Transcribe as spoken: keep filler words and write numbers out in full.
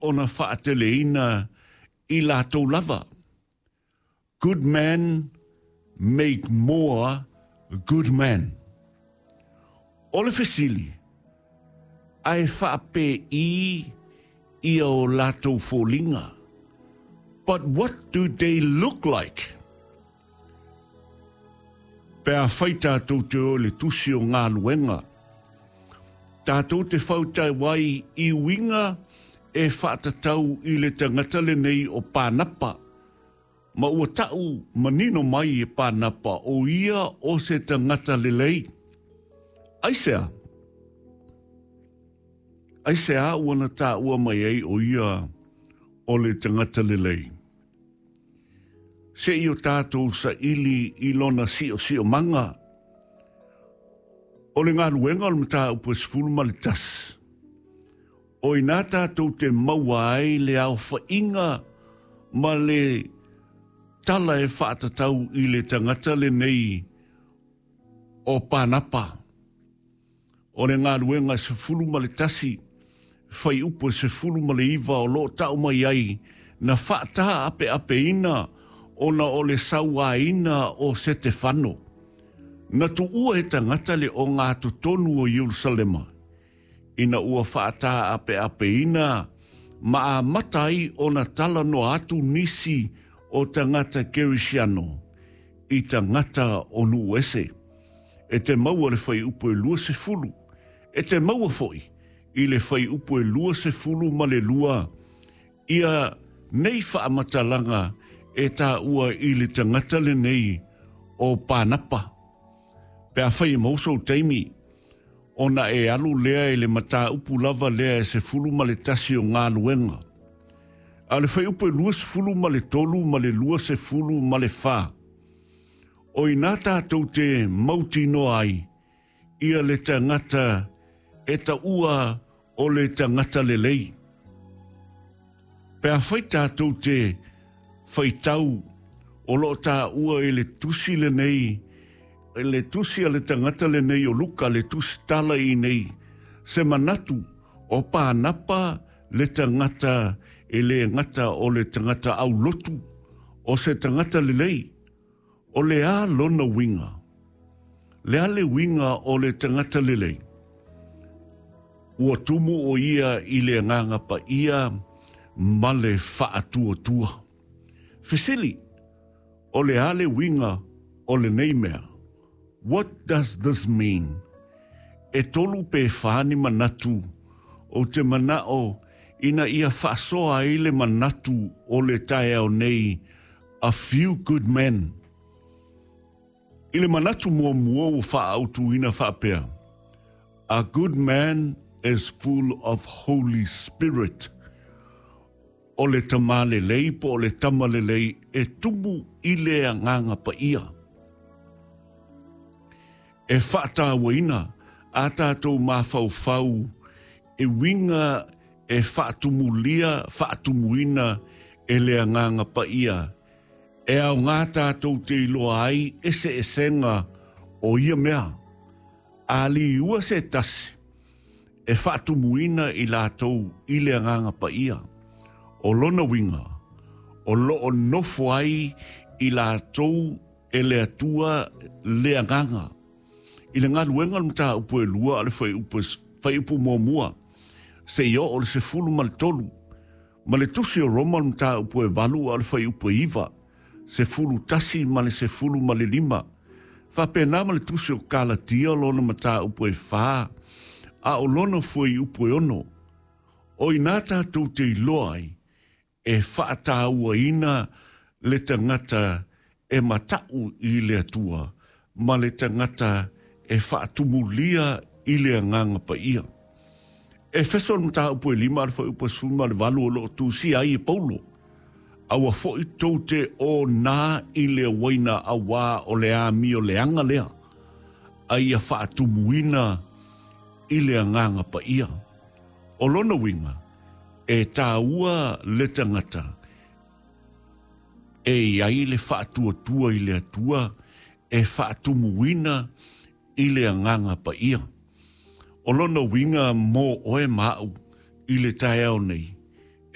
ona faateleina i latou lava. Good men make more good men. O le fesili, ae faapei ia o latou foliga? But what do they look like? Pe afai tatou te o i le tusi o Galuega, tatou te fautau ai i uiga e faatatau i le tagata lenei o Pānapa, ma ua ta'u manino mai e Pānapa o ia o se tagata lelei. Aisea? Aisea ua na taua mai ai o ia o le tagata lelei? Se i o tatou saili i lona siosiomaga. O le Galuega o le mataupu e sefulu ma le tasi. O i ina tatou te maua ai le aofaiga ma le tala e faatatau i le tagata lenei o Pānapa. O le Galuega sefulu ma le tasi, fuaiupu e sefulu ma le iva o loo tau mai ai na faataapeapeina ona o le sauaina o Setefano. Na tuua e tagata le ogatotonu o Ierusalema, ina ua faataapeapeina ma amata ai ona talanoa atu nisi o tagata Kerisiano i tagata o nuu ese. E te maua le fuaiupu e luasefulu. E te maua foi i le fuaiupu e luasefulu ma le lua ia nei faamatalaga e taua i le tagata lenei o Pānapa. Pe afai e maua sou taimi, ona e alu lea i le mataupu lava lea e sefulu ma le tasi o Galuega. A o le fuaiupu e luasefulu ma le tolu ma le luasefulu ma le fa, o ina tatou te mautinoa ai ia le tagata e taua o le tagata lelei. Pe afai tatou te faitau o loo taua i le tusi lenei, le tusi a le tagata lenei o Luka, le tusi tala i nei, se manatu o Pānapa le tagata e le gata o le tagata aulotu, o se tagata lelei, o le a lona uiga. Le a le uiga o le tagata lelei. Ua tumu o ia i le Agaga Paia ma le faatuatua. Fesili, o le a le uiga o lenei mea? What does this mean? E tolu pe fa ni manatu o te manao ina ia faasoa ai le manatu o le taeao nei, a few good men. I le manatu muamua ua faaautuina faapea, a good man is full of Holy Spirit. O le tamā lelei po o le tama lelei e tumu i le Agaga Paia. E faatauaina a tatou mafaufau e uiga e faatumulia, faatumuina e le Agaga Paia. E aogā tatou te iloa ai eseesega o ia mea. A liua se tasi e faatumuina i latou i le Agaga Paia. O lona uiga, o loo nofo ai i latou e le Atua le Agaga. I le Galuega o le mataupu e lua a le fuaiupu, fuaiupu muamua, seia oo i le sefulu ma le tolu. Ma le tusi o Roma le mataupu e valu a le fuaiupu e iva, sefulu tasi ma le sefulu ma le lima. Faapena ma le tusi o Kalatia lona mataupu e fa, a o lona fuaiupu e ono. O ina tatou te iloa ai, e faatauaina le tagata e matau i le Atua, ma le tagata e faatumulia i le Agaga Paia. Efeso le mataupu e lima a le fuaiupu e sefulu ma le valu o loo tusia ai e Paulo. Aua foi tou te onā i le uaina auā o le amioleaga lea, a ia faatumuina i le Agaga Paia. O lona uiga, e taua le tagata e i ai le faatuatua i le Atua e faatumuina i le Agaga Paia. O lona uiga mo oe ma au i le taeao nei.